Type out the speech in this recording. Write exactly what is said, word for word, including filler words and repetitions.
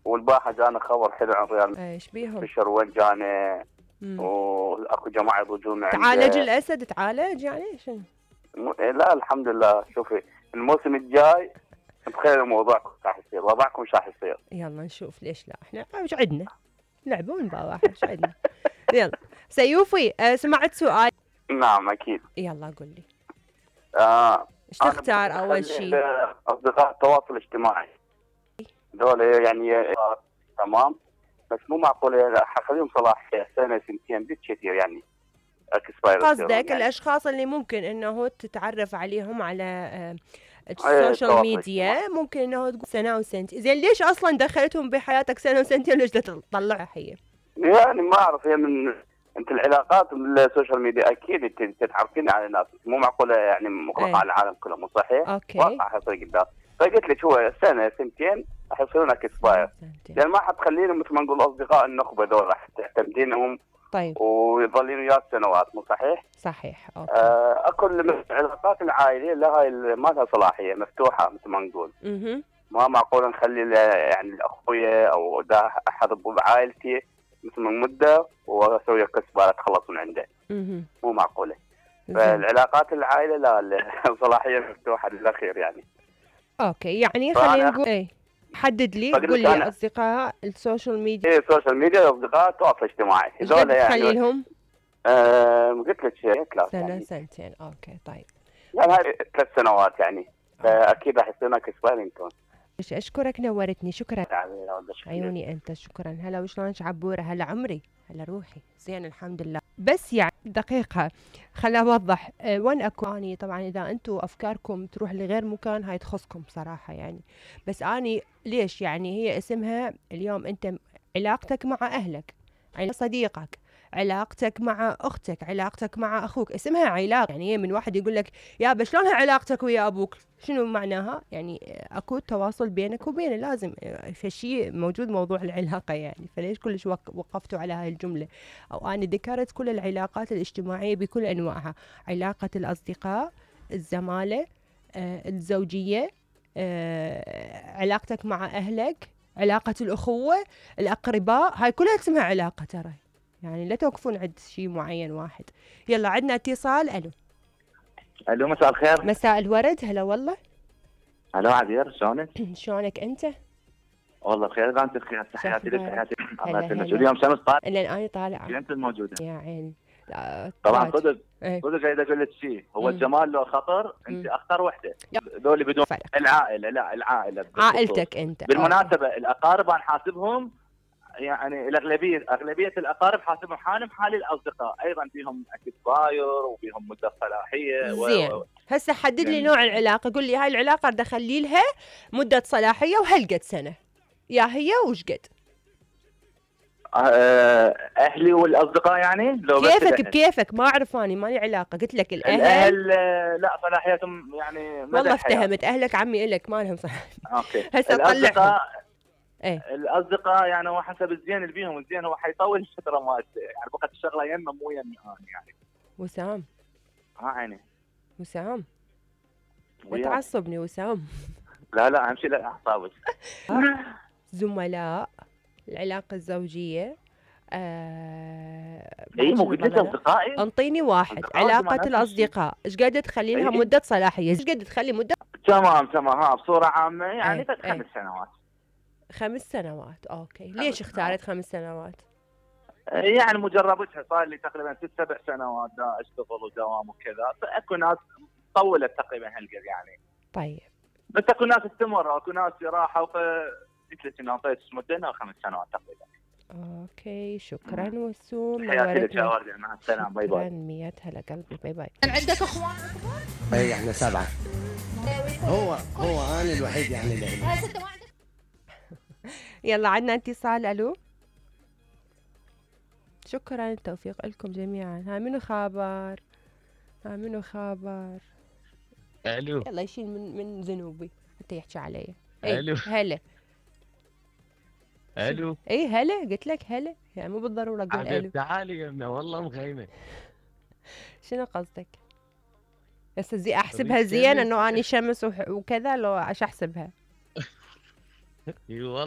والبارحه جانا خبر حلو عن ريال ايش بيهم؟ بشر وين جانا، واكو جماعه يضجون عنده. تعالج الاسد تعالج يعني شنو؟ لا الحمد لله. شوفي الموسم الجاي تخيلوا موضوعكم راح يصير، وضعكم ايش راح يصير. يلا نشوف ليش لا، احنا ايش عندنا؟ لعبون بواحد ايش عندنا؟ يلا سيوفي أه سمعت سؤال؟ نعم اكيد. يلا قل لي. آه ايش تختار اول شيء؟ اصدقاء التواصل الاجتماعي دول يعني تمام، بس مو معقول حخليهم صلاحيه سنه سنتين بالكثير يعني. قصدك يعني الاشخاص اللي ممكن انه تتعرف عليهم على السوشيال ميديا ممكن انه تقول سنه وسنتين، زين ليش اصلا دخلتهم بحياتك سنه وسنتين ليش تطلعها هي؟ يعني ما اعرف، هي من انت العلاقات بالسوشيال ميديا اكيد انت تعرفين على الناس، مو معقوله يعني مغلقه على العالم كله، مو صحيح؟ اوكي واقع حيصير قدام. فقلت لك هو سنه سنتين راح يصيرون اكسباير، يعني ما حتخليهم مثل ما نقول اصدقاء النخبه دول راح تعتمدينهم. طيب ويظلين وياك سنوات، مو صحيح؟ صحيح. اوكي. آه اكو العلاقات العائليه لها ما لها صلاحيه مفتوحه مثل ما نقول. اها ما معقول نخلي يعني الاخويا او دا احد بعائلتي مثل من مده واسوي كسبات تخلص من عنده. اها مو معقوله. فالعلاقات العائله لا صلاحيه مفتوحه للاخير يعني. اوكي يعني خلينا نقول ايه حدد لي قول لي اصدقاء السوشيال ميديا. ايه السوشيال ميديا اصدقاء التواصل الاجتماعي هذول يعني تخلي لهم؟ آه قلت لك شيء ثلاث سنه يعني. سنتين. اوكي طيب يعني هاي ثلاث سنوات يعني، فاكيد راح يصير لك اسبايرنتون. اشكرك نورتني. شكرا يعني عيوني انت. شكرا. هلا وشلونك عبوره؟ هلا عمري؟ هلا روحي؟ زين الحمد لله. بس يعني دقيقه خليني اوضح أه وين اكو اني. طبعا اذا انتم افكاركم تروح لغير مكان هاي تخصكم بصراحه يعني، بس اني ليش يعني هي اسمها اليوم انت علاقتك مع اهلك، علاقة صديقك، علاقتك مع اختك، علاقتك مع اخوك، اسمها علاقه. يعني هي من واحد يقول لك يابا شلونها علاقتك ويا ابوك؟ شنو معناها؟ يعني اكو تواصل بينك وبينه، لازم في شيء موجود موضوع العلاقه يعني. فليش كلش وقفتوا على هاي الجمله؟ او انا ذكرت كل العلاقات الاجتماعيه بكل انواعها، علاقه الاصدقاء، الزماله، آه، الزوجيه، آه، علاقتك مع اهلك، علاقه الاخوه، الاقرباء، هاي كلها اسمها علاقه ترى. يعني لا توقفون عند شيء معين واحد. يلا عندنا اتصال. الو الو مساء الخير. مساء الورد. هلا والله. الو عبير شلونك؟ شلونك انت؟ والله بخير. انت بخير؟ تحياتي لك. تحياتي. الله يسلمك. هلا. اليوم شمس طالع. لان انا طالعه. انت الموجوده يا عيني. طبعا صدق ايه. صدق قاعد اقول لك شيء، هو مم. الجمال له خطر. انت اختار وحده ذولي بدون فرق. العائله لا العائله عائلتك انت. بالمناسبه أوكي. الاقارب انا حاسبهم يعني الاغلبيه اغلبيه الاقارب حاسبهم حالهم حال الاصدقاء، ايضا فيهم اكسباير وفيهم مده صلاحيه. زين و... هسه حدد لي نوع العلاقه. قول لي هاي العلاقه بدي اخلي لها مده صلاحيه وهالقد سنه، يا هي وش قد؟ اهلي والاصدقاء يعني لو كيفك بكيفك ما اعرف اني مالي علاقه. قلت لك الاهل الاهل لا صلاحيتهم يعني والله افتهمت. اهلك عمي الك ما لهم صلاحيه. اوكي. هسه الاصدقاء ايه الاصدقاء يعني هو حسب الزين اللي بيهم. الزين هو حيطول الفتره مالته يعني بقت الشغله يمه مو يمي انا يعني. وسام ها عيني وسام لا تعصبني وسام. لا لا اهم شيء لا اعصابك. زملاء، العلاقه الزوجيه، آه اي مو قلت لك اصدقائي؟ انطيني واحد. علاقه الاصدقاء ايش قد تخلي لها أيه. مده صلاحيه؟ ايش قد تخلي مده؟ تمام تمام. ها بصوره عامه يعني أيه. خمس أيه. سنوات. خمس سنوات. اوكي. ليش اختارت خمس سنوات؟ يعني مجربتها صار لي تقريبا ست سبع سنوات دا اشتغل ودوام وكذا، فاكو ناس طولت تقريبا هالقد يعني. طيب بس اكو ناس استمروا، اكو ناس راحوا، فقلت لك انه اعطيت مده خمس سنوات تقريبا. اوكي شكرا وسوم. حياتي لك يا وردة. مع السلامه. باي باي. مية هلا قلبي. باي باي. عندك اخوان اكبر؟ اي احنا سبعه. هو هو انا الوحيد يعني اللي يلا عندنا اتصال. الو شكرا. التوفيق لكم جميعا. ها منو خابر؟ ها منو خابر؟ الو يلا يشيل من من ذنوبي حتى يحكي علي. الو هلا. الو اي هلا. قلت لك هلا يعني مو بالضروره اقول الو. تعالي يمنا والله مخيمه. شنو قصدك؟ هسه زي احسبها زين انه اني شمس وكذا لو ايش احسبها؟ اي والله